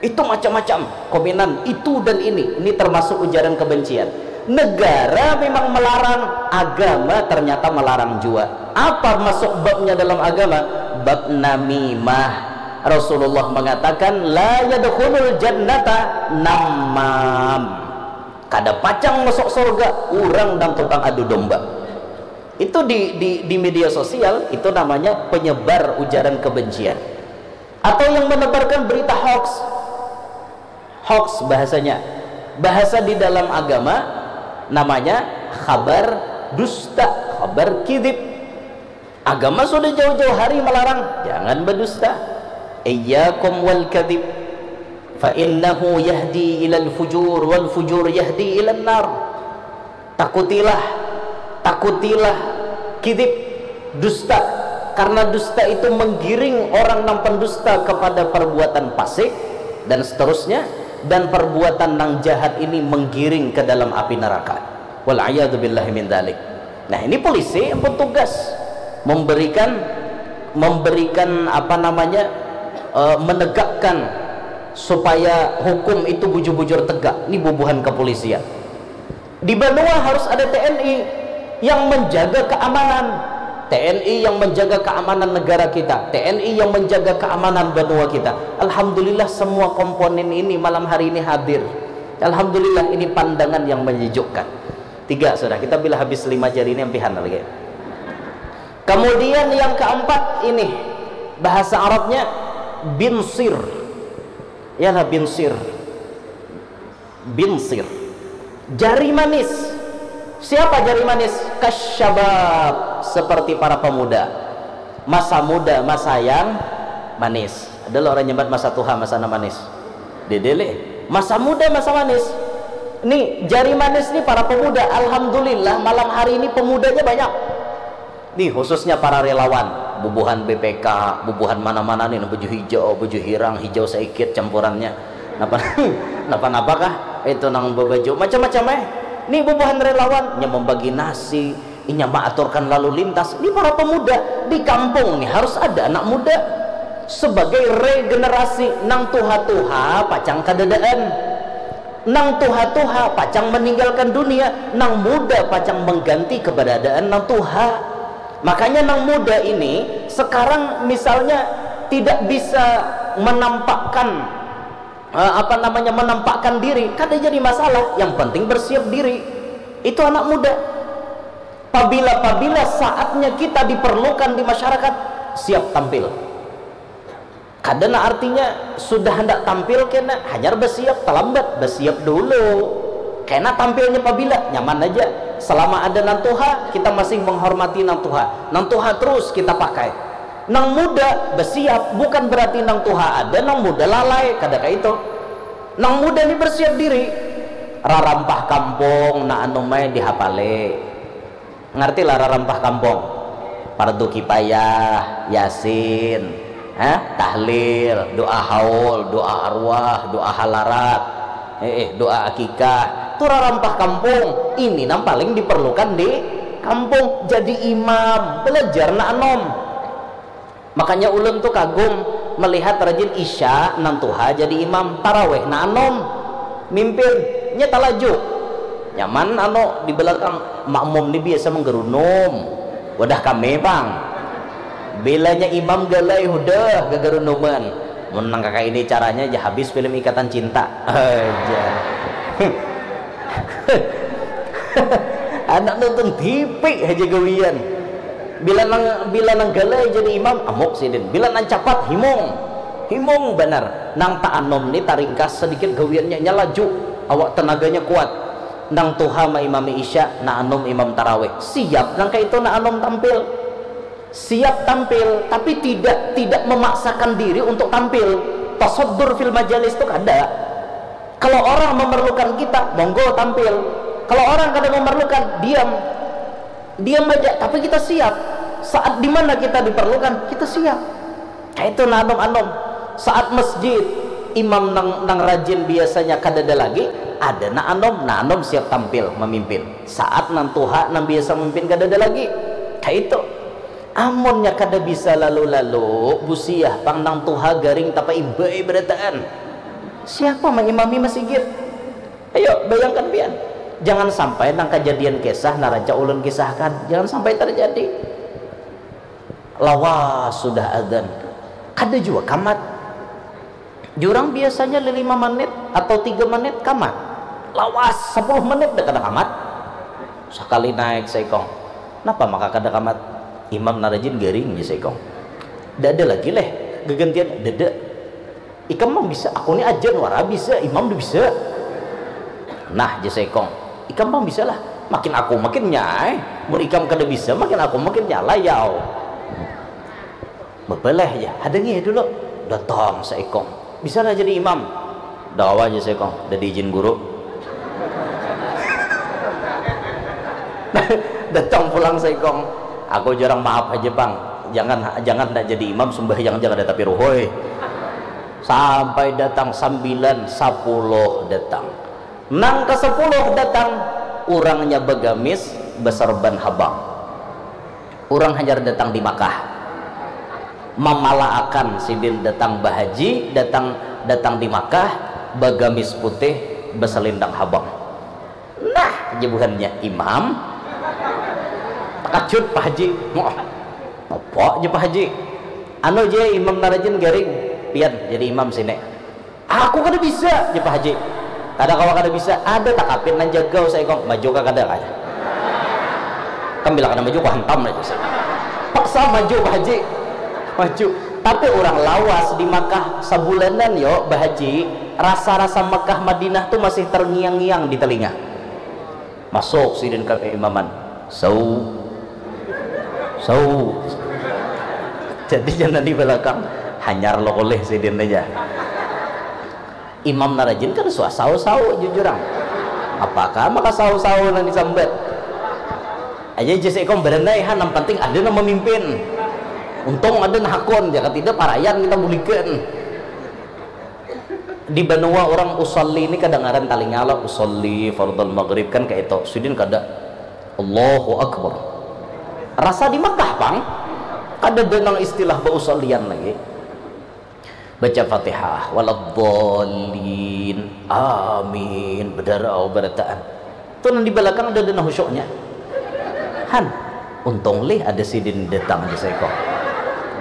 Itu macam-macam komenan, itu dan ini. Ini termasuk ujaran kebencian. Negara memang melarang, agama ternyata melarang jua. Apa masuk babnya dalam agama? Bab namimah. Rasulullah mengatakan, "La yadkhulul jannata namam." Kada pacang masuk surga urang nang tukang adu domba. Itu di, di, di media sosial, itu namanya penyebar ujaran kebencian. Atau yang menebarkan berita hoax. Hoax bahasanya. Bahasa di dalam agama namanya khabar dusta, khabar kidib. Agama sudah jauh-jauh hari melarang, jangan berdusta. Iyyakum wal kadhib. Fa innahu yahdi ilal fujur wal fujur yahdi ilal nar. Takutilah, takutilah kidib, dusta. Karena dusta itu menggiring orang nang pendusta kepada perbuatan fasik dan seterusnya, dan perbuatan nang jahat ini menggiring ke dalam api neraka. Wal iyadzu billahi min dzalik. Nah, ini polisi yang bertugas memberikan, memberikan apa namanya, eh, menegakkan supaya hukum itu bujur-bujur tegak. Ini bubuhan kepolisian. Di banua harus ada T N I yang menjaga keamanan. T N I yang menjaga keamanan negara kita, T N I yang menjaga keamanan banua kita. Alhamdulillah, semua komponen ini malam hari ini hadir. Alhamdulillah, ini pandangan yang menyejukkan. Tiga sudah, kita bila habis lima jari ini ampihan lagi. Kemudian yang keempat ini, bahasa Arabnya binsir. Ialah binsir. Binsir. Jari manis. Siapa jari manis? Kasyabab, seperti para pemuda. Masa muda, masa yang manis. Ada lo orang nyambat masa tuha, masa nang manis. Dede leh. Masa muda, masa manis. Nih, jari manis nih para pemuda. Alhamdulillah, malam hari ini pemudanya banyak. Nih, khususnya para relawan, bubuhan B P K, bubuhan mana-mana nih, baju hijau, baju hirang, hijau saikit campurannya. Napa, napa-napa kah? Itu nang babaju macam-macam eh. Nih, bubuhan relawan, nya membagi nasi, inya maaturkan lalu lintas. Nih, para pemuda di kampung nih harus ada anak muda sebagai regenerasi. Nang tuha-tuha pacang kadadaan. Nang tuha-tuha pacang meninggalkan dunia, nang muda pacang mengganti keberadaan nang tuha. Makanya nang muda ini sekarang misalnya tidak bisa menampakkan, eh, apa namanya, menampakkan diri, kada jadi masalah. Yang penting bersiap diri. Itu anak muda. Pabila-pabila saatnya kita diperlukan di masyarakat, siap tampil. Kada nah artinya sudah handak tampil kena, hanyar besiap, talambat, besiap dulu. Kena tampilnya pabila, nyaman aja. Selama ada nang tuha, kita masih menghormati nang tuha. Nang tuha terus kita pakai. Nang muda besiap, bukan berarti nang tuha ada, nang muda lalai, kada kayak itu. Nang muda ni bersiap diri. Rarampah kampung, nah anu mai dihapale. Ngarti lah rarampah kampung? Pardu kipayah, yasin, ha? Tahlil, doa haul, doa arwah, doa halarat, eh, eh, doa akikah. Tu rarampah kampung. Ini nang paling diperlukan di kampung. Jadi imam, belajar nak anom. Makanya ulun tu kagum melihat rajin isya nang tuha jadi imam, taraweh nang anom mimpin, nya talaju. Nyaman anu di belakang, makmum ni biasa menggerunum. Wadah kami pang. Bilanya imam galai hudah gegerunuman. Mun nang kaka ini caranya aja habis film Ikatan Cinta. Aja. Anak nonton T V aja gawian. Bila nang, bila nang galai jadi imam, amuk sidin. Bila nang capat, himung. Himung banar. Nang taanum ni taringkas sedikit gawiannya, nya laju. Awak tenaganya kuat. Nang tuha maimami isya, nang anum imam tarawih. Siap nang kaitu nang anum tampil. Siap tampil, tapi tidak, tidak memaksakan diri untuk tampil. Tasaddur fil majalis tu kada. Kalau orang memerlukan kita, monggo tampil. Kalau orang kada memerlukan, diam. Diam aja, tapi kita siap. Saat dimana kita diperlukan, kita siap. Kaitu nah anum-anum. Saat masjid, imam nang, nang rajin biasanya kadada lagi, ada nah anum, nah anum siap tampil mamimpin. Saat nang tuha nang biasa mamimpin kadada lagi. Kaitu. Amunnya kada bisa lalu-lalu, busiah pang nang tuha garing tapaimbai barataan. Siapa maimami masigit? Ayo, bayangkan pian. Jangan sampai nang kajadian kisah nang rancak ulun kisahkan. Jangan sampai terjadi. Lawas sudah adzan. Kada jua kamat. Jurang biasanya lima menit atau tiga menit kamat. Lawas, sepuluh menit dah kada kamat. Sakali naik saikong. Napa maka kada kamat? Imam nang rajin garing, jar saikong. Dada lagi leh, gagantian, dada. Ikam pang bisa, aku ni ajan wara bisa, imam tu bisa. Nah, jar saikong, ikam pang bisa lah. Makin aku makin nyai. Mun ikam kada bisa, makin aku makin nyalai, yau. Babaleh ja, hadangi ya dulu. Datang saikong. Bisa lah jadi imam. Dawa aja saikong, udah diizin guru. Datang pulang saikong. Aku jarang maaf aja bang. Jangan jangan ndak jadi imam, sembahyang aja kada tapi ruhoi. Sampai datang sambilan, sapuluh datang. Nang kasapuluh datang, urangnya bagamis, baserban habang. Urang hanyar datang di Makkah, mamalaakan sidin datang bahaji, datang datang di Makkah, bagamis putih, basalindang habang. Nah, jar buhannya, imam. Takajut Pak Haji. Wah, apa jar Pak Haji? Anu ja, imam nang rajin garing, pian jadi imam sini. Aku kada bisa, jar Pak Haji. Kada kawa kada bisa, ada takapin nang jagau saikong, maju ka kada kah? Kam bila kada maju, kuhantam aja. Paksa maju Pak Haji. Maju. Tapi urang lawas di Makkah sabulanan yo bahaji, rasa-rasa Makkah Madinah tu masih terngiang-ngiang di talinga. Masuk sidin ka kaimaman. Sau. Sau. Jadi jangan di balakang, hanyar lo kulih sidin aja. Imam nang rajin kada suah sau-sau jujur ang. Apakah maka sau-sau nang disambat? Aja jar saikong, baranai ha, nang panting ada nang mamimpin. Untung ada nang hakun, jaka tidak parayan kita bulikan. Di banua urang usolli ni kadangaran talinga lo, usolli fardal maghrib kan kaitu. Sidin kada, Allahu Akbar. Rasa di Makkah pang, kadada nang istilah bausollian lagi. Baca Fatihah, waladdallin, amin, badarau barataan. Tu nang di balakang ada dana khusyuknya. Han, untung lih ada sidin datang di saikong.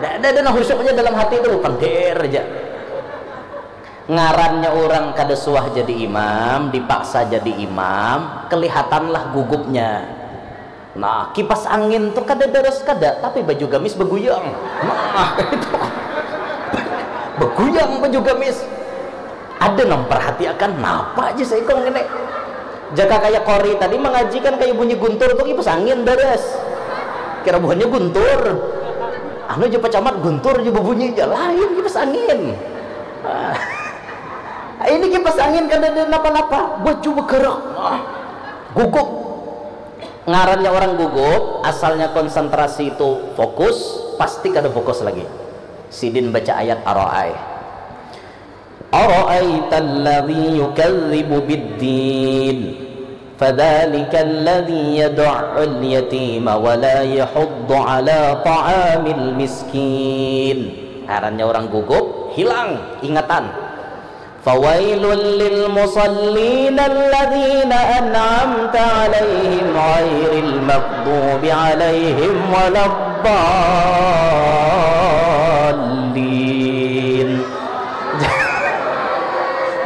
Ada dana khusyuknya dalam hati tu, pandir aja. Ngarannya urang kada suah jadi imam, dipaksa jadi imam, kelihatanlah gugupnya. Nah, kipas angin tu kada daras kada, tapi baju gamis baguyang. Nah, itu. Baguyang baju gamis. Ada nang perhatiakan, napa aja saikong ini? Jaka kaya kori tadi mengaji kan kaya bunyi guntur tu kipas angin daras. Kira buhannya guntur. Anu aja pacamat guntur aja berbunyi aja, lain kipas angin. Ah. Ini kipas angin kada ada napa-napa, baju bergerak. Ah. Gugup. Ngarannya orang gugup, asalnya konsentrasi itu fokus, pasti kada fokus lagi. Sidin baca ayat araai. Araaital ladzi yukadzibu biddin. Fadzalikal ladzi yad'ul yatima wa la yahuddu ala ta'amil miskin. Ngarannya orang gugup, hilang ingatan. Fawailul lil musallin alladzina an'amta alaihim ghairil maghdubi alaihim waladdallin.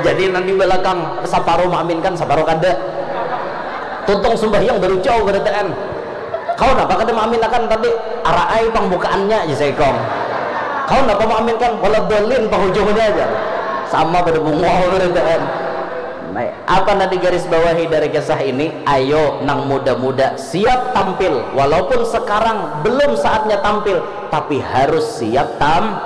Jadi nang di balakang saparuh maaminkan, saparuh kada. Tuntung sumbahyang baru jauh barataan. Kau napa kada maaminakan tadi? Araai pang bukaannya aja saikong. Kau napa maaminkan? Waladdallin pang ujungnya aja. Sama pada bungul barataan. Nah, apa nang digaris bawahi dari kisah ini? Ayo nang muda-muda siap tampil. Walaupun sekarang belum saatnya tampil, tapi harus siap tam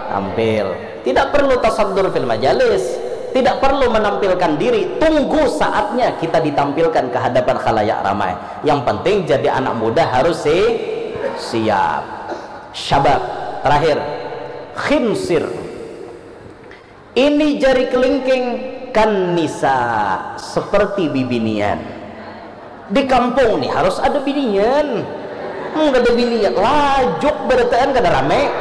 tampil. Tidak perlu tasaddur fil majalis, tidak perlu menampilkan diri. Tunggu saatnya kita ditampilkan ke hadapan khalayak ramai. Yang penting jadi anak muda harus si siap. Syabab. Terakhir, Khinsir. Ini jari kelingking kan nisa seperti bibinian. Di kampung nih harus ada binian. Hmm, kada binian, lajuk berataan kada rame.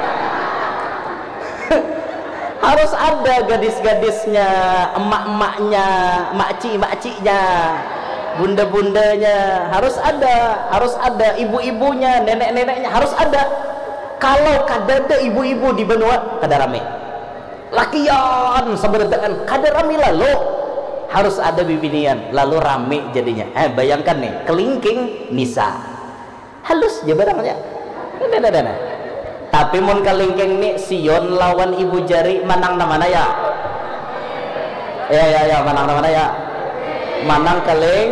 Harus ada gadis-gadisnya, emak-emaknya, makci-makcinya, bunda-bundanya, harus ada, harus ada ibu-ibunya, nenek-neneknya, harus ada. Kalau kadada ibu-ibu di banua, kada rame. Lakian sabarataan kada rami lalu, harus ada bibinian lalu rami jadinya. Eh, bayangkan nih, kelingking nisa, halus ja barangnya. Nah, nah, nah, nah. Tapi mun kelingking nih, Sion lawan ibu jari, manang na mana ya? Ya, ya, ya, manang na mana ya? Manang keling.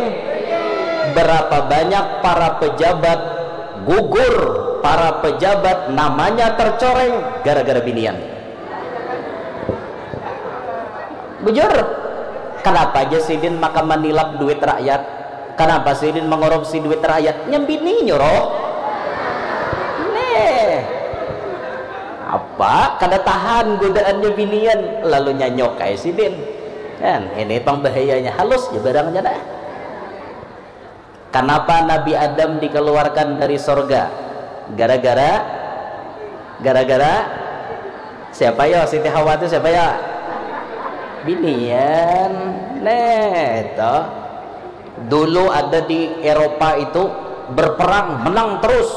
Berapa banyak para pejabat gugur, para pejabat namanya tercoreng gara-gara binian. Bujur, kenapa aja sidin maka manilap duit rakyat? Kenapa sidin mengorupsi duit rakyat? Nyambini nyuruh. Nih. Apa? Kada tahan godaannya binian, lalu nyanyok kayak sidin. Kan, ini pang bahayanya, halus ya barangnya dah. Kenapa Nabi Adam dikeluarkan dari sorga? Gara-gara, gara-gara siapa ya? Siti Hawa itu siapa ya? Binian. Nah, itu. Dulu ada di Eropa itu berperang, menang terus.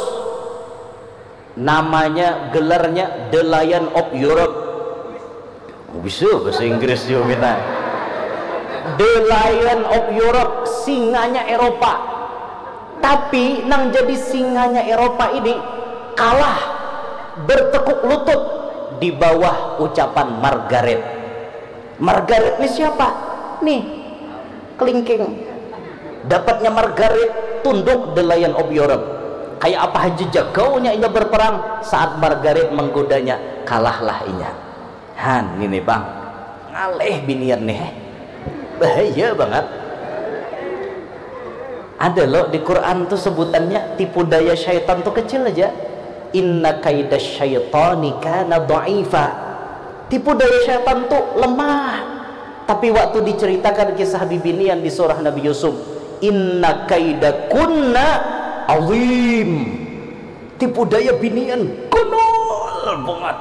Namanya, gelarnya The Lion of Europe. Bisa bahasa Inggris juga kita. The Lion of Europe, singanya Eropa. Tapi nang jadi singanya Eropa ini kalah bertekuk lutut di bawah ucapan Margaret. Margaret ini siapa? Nih, kelingking. Dapatnya Margaret tunduk The Lion of Europe. Kayak apa haja jagaunya inya berperang, saat Margaret menggodanya, kalahlah inya. Han, ini bang, ngalih binian nih, bahaya banget. Ada loh di Quran tuh sebutannya, tipu daya syaitan tuh kecil aja. Inna kaida syaitani kana dha'ifa. Tipu daya syaitan tuh lemah. Tapi waktu diceritakan kisah bibinian di surah Nabi Yusuf, inna kaida kunna azim. Tipu daya binian konyol banget.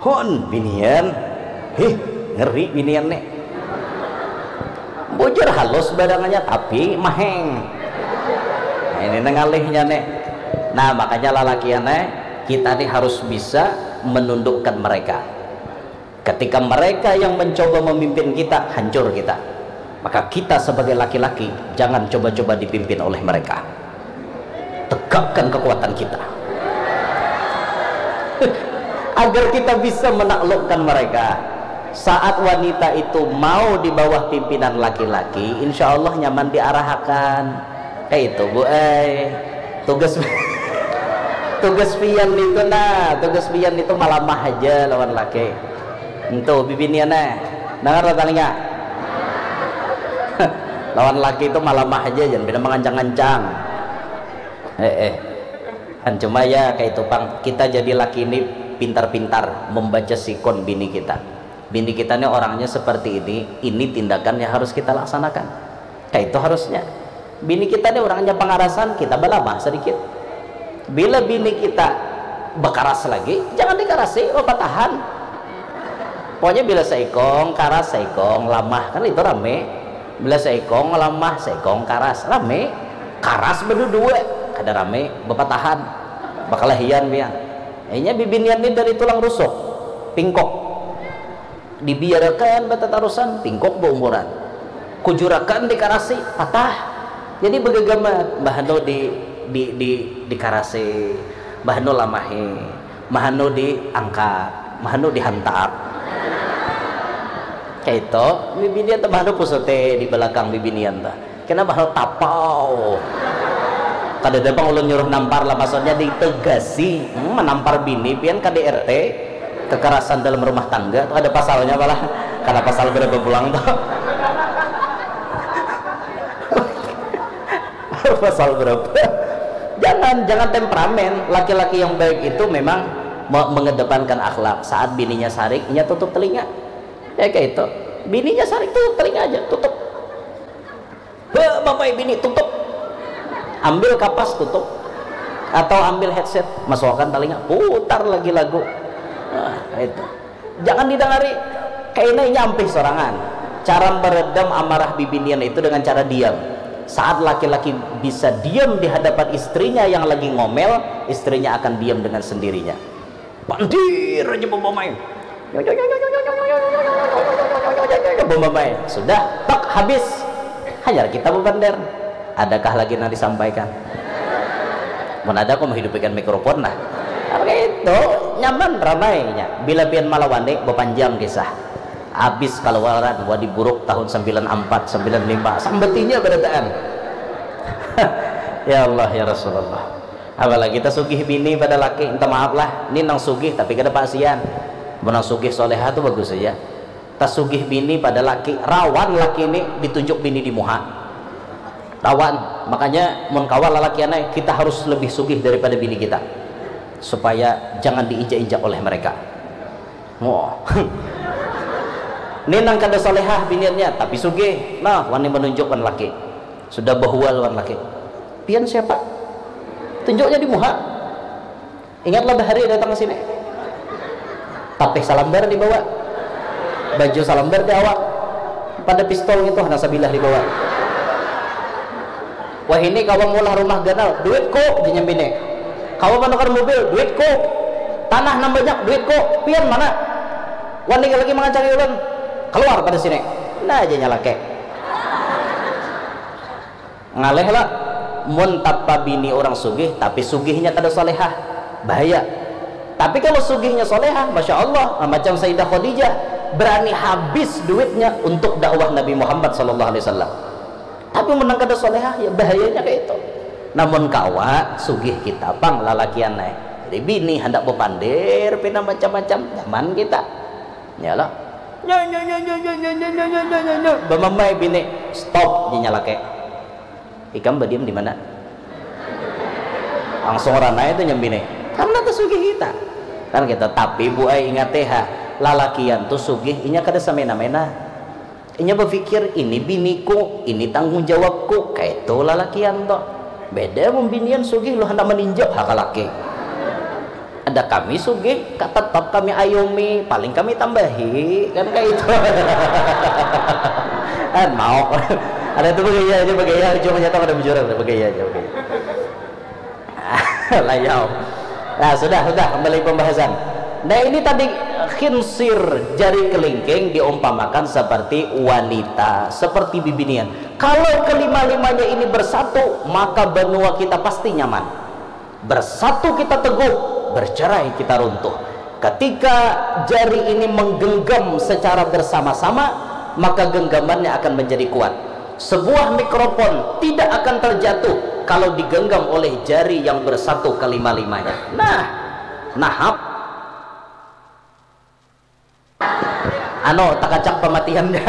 Hon, binian. Hih, ngeri binian nih. Bujur halus badangannya tapi maheng. Nah, ini ngalihnya nih. Nah, makanya lalakian nih, kita nih harus bisa menundukkan mereka. Ketika mereka yang mencoba memimpin kita, hancur kita. Maka kita sebagai laki-laki jangan coba-coba dipimpin oleh mereka. Tegakkan kekuatan kita. Agar kita bisa menaklukkan mereka. Saat wanita itu mau di bawah pimpinan laki-laki, insya Allah nyaman diarahakan. Kayak itu, Bu, eh. Tugas tugas pian itu nah, tugas pian itu malamah aja lawan laki. Itu bibinian eh. Dengar lah talinga. Lawan laki itu malamah aja, jangan pina mangancang-ancang. Eh, eh. Kan cuma ya kayak itu pang, kita jadi laki ini pintar-pintar membaca sikon bini kita. Bini kita ini orangnya seperti ini, ini tindakan yang harus kita laksanakan. Kayak itu harusnya. Bini kita ini orangnya pangarasan, kita balamah sedikit. Bila bini kita bakaras lagi, jangan dikarasi, oh patahan. Pokoknya bila seikong karas, seikong lamah, kan itu rame. Bila seikong lamah, seikong karas, rame. Karas berdua, kada rame, bepatahan, bakalahian pian. Inya bibinian ni dari tulang rusuk, pingkok. Dibiarakan batatarusan, pingkok baumuran. Kujurakan dikarasi, patah. Jadi begagamat, bahanu di di di dikarasi, bahanu lamahi, bahanu diangkat, bahanu dihantap. Kayak itu, bibinian tuh bahanu pusuti di belakang bibinian tuh. Kena bahal tapau. Kada ada bang ulun nyuruh nampar lah, maksudnya ditegasi. Hmm, menampar bini pian K D R T, kekerasan dalam rumah tangga tuh ada pasalnya apalah. Karena pasal berapa pulang tuh? Pasal berapa? Jangan, jangan temperamen. Laki-laki yang baik itu memang Me- mengedepankan akhlak. Saat bininya sarik, inya tutup telinga. Ya, kayak itu. Bininya sarik, tutup telinga aja, tutup. Be, bapak bini, tutup. Ambil kapas, tutup. Atau ambil headset, masukkan telinga, putar lagi lagu. Nah, itu. Jangan didengari. Kayaknya inya ampih sorangan. Cara meredam amarah bibinian itu dengan cara diam. Saat laki-laki bisa diam di hadapan istrinya yang lagi ngomel, istrinya akan diam dengan sendirinya. Pandir aja, bambamai. Bambamai. Sudah, tak habis. Hanyar kita bepander. Adakah lagi yang disampaikan? Mun ada, aku menghidupikan mikrofon lah. Itu nyaman ramainya. Bila pian malawani, bepanjang kisah. Habis kaluaran wadi buruk tahun sembilan empat, sembilan lima. Sambetinya berataan. Ya Allah, ya Rasulullah. Apalagi tasugih bini pada laki, minta maaf lah, ni nang sugih tapi kada pasian. Mun nang sugih soleha tu bagus saja. Tasugih bini pada laki, rawan laki ni ditunjuk bini di muha. Rawan, makanya mun kawa lalakian ai, kita harus lebih sugih daripada bini kita. Supaya jangan diinjak-injak oleh mereka. Wah. Ni nang kada solehah biniannya, tapi sugih. Nah, wani menunjukkan laki. Sudah bahual wan laki. Pian siapa? Tunjuknya di muha. Ingatlah bahari datang ke sini. Tapih salambar dibawa. Baju salambar di awak. Pada pistol gitu, hana sabilah dibawa. Wah, ini kawa mulah rumah ganal, duitku, jar nyambini. Kawa manukar mobil, duitku. Tanah nang banyak, duitku. Pian mana? Wani lagi mangancari ulun. Keluar pada sini. Nah, jar nya laki. Ngalih lah, mun tapa bini orang sugih, tapi sugihnya kada solehah, bahaya. Tapi kalau sugihnya solehah, masya Allah, macam Sayyidah Khadijah, berani habis duitnya untuk dakwah Nabi Muhammad sallallahu alaihi wasallam. Tapi mun nang kada solehah, ya bahayanya kayak itu. Namun kawa sugih kita pang lalakian ai. Jadi bini handak bepandir pina macam-macam, nyaman kita. Ya lah. Nya, nya, nya, nya, nya, nya, nya, nya, nya, nya, nya. Bamamai bini, stop, jar nya laki. Ikam badiam di mana? Langsung ranai tu nyambini. Karena tasugih kita. Kan kita, tapi bu ai, ingat ha, lalakian tu sugih, inya kada samena-mena. Inya bapikir, ini biniku, ini tanggung jawabku, kaitu lalakian tu. Beda mun binian sugih, lu handak maninjak ha ka laki. Ada kami sugih, ka tetap kami ayomi, paling kami tambahi, kan kaitu. Kan mau. Ada tu bagaya aja, bagaya, ujungnya tu kada bujur, ada bagaya aja, oke. Layau. Nah, sudah, sudah, kembali pembahasan. Nah, ini tadi khinsir, jari kelingking diumpamakan seperti wanita, seperti bibinian. Kalau kelima-limanya ini bersatu, maka benua kita pasti nyaman. Bersatu kita teguh, bercerai kita runtuh. Ketika jari ini menggenggam secara bersama-sama, maka genggamannya akan menjadi kuat. Sebuah mikrofon tidak akan terjatuh kalau digenggam oleh jari yang bersatu kelima-limanya. Nah, nahap. Anu, takacak pamatihannya.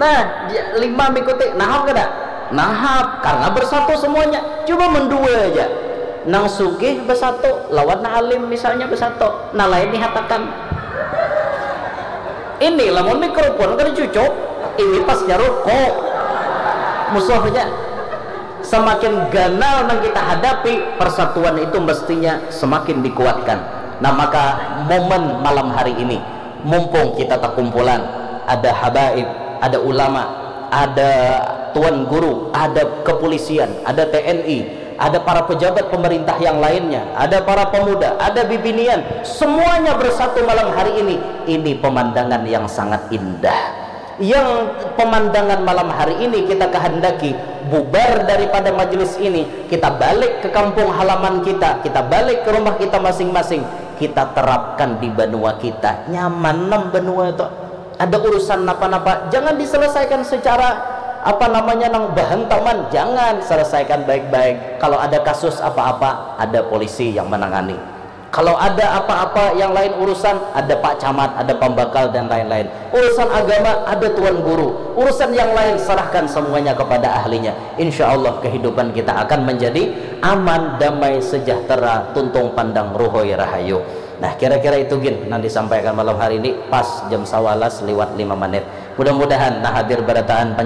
Nah, dia, lima mikuti, nahap kada? Nahap, karena bersatu semuanya. Coba mun dua aja. Nang sugih bersatu, lawan nang alim misalnya bersatu. Nah, lain nihatakan. Ini lamun mikrofon kada cucuk, ini pasnya ruko. Musuhnya. Semakin ganal nang kita hadapi, persatuan itu mestinya semakin dikuatkan. Nah, maka momen malam hari ini, mumpung kita takumpulan, ada habaib, ada ulama, ada tuan guru, ada kepolisian, ada T N I, ada para pejabat pemerintah yang lainnya, ada para pemuda, ada bibinian, semuanya bersatu malam hari ini. Ini pemandangan yang sangat indah. Yang pemandangan malam hari ini kita kehendaki, bubar daripada majelis ini, kita balik ke kampung halaman kita, kita balik ke rumah kita masing-masing, kita terapkan di banua kita. Nyaman nam banua tu. Ada urusan napa-napa, jangan diselesaikan secara, apa namanya, nang bahantaman, jangan, selesaikan baik-baik. Kalau ada kasus apa-apa, ada polisi yang menangani. Kalau ada apa-apa yang lain urusan, ada Pak Camat, ada pambakal dan lain-lain. Urusan agama, ada tuan guru. Urusan yang lain, serahkan semuanya kepada ahlinya. Insya Allah kehidupan kita akan menjadi aman, damai, sejahtera, tuntung pandang, ruhoi rahayu. Nah, kira-kira itu gin yang disampaikan malam hari ini, pas jam sawalas liwat lima menit. Mudah-mudahan nah hadir barataan